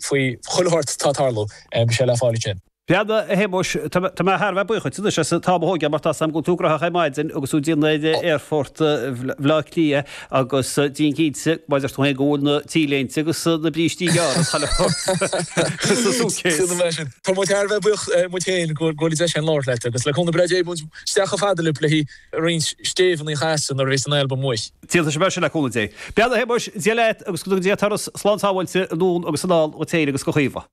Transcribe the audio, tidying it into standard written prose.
Faoi chuile shórt atá ag tarlú, beidh sé le fáil ansin. Breathnaigh, a Shéamuis, tá mé thar a bheith buíoch duit anois as an t-am a thógáil mar tá 's a'm go bhfuil tú gnóthach ar maidin agus tú ag déanamh ar aerfort Bhaile Átha Cliath agus déan cinnte, mar a deir tú féin, go bhfuil na T-léinte agus na brístí gearra sa suitcase. Tá muid thar a bheith buíoch muid féin go bhfuil an deis againn labhairt leat agus le cúnamh breá Dé beidh muid isteach chomh fada libh le haghaidh roinnt stéibheanna a chasadh nuair a bheas an albam amuigh. Déanfaidh sé mar sin le cúnamh Dé. Breathnaigh, a Shéamuis, Dia leat agus go dtuga Dia turas slán sábháilte anonn agus anall dhuit féin agus do Chaoimhe.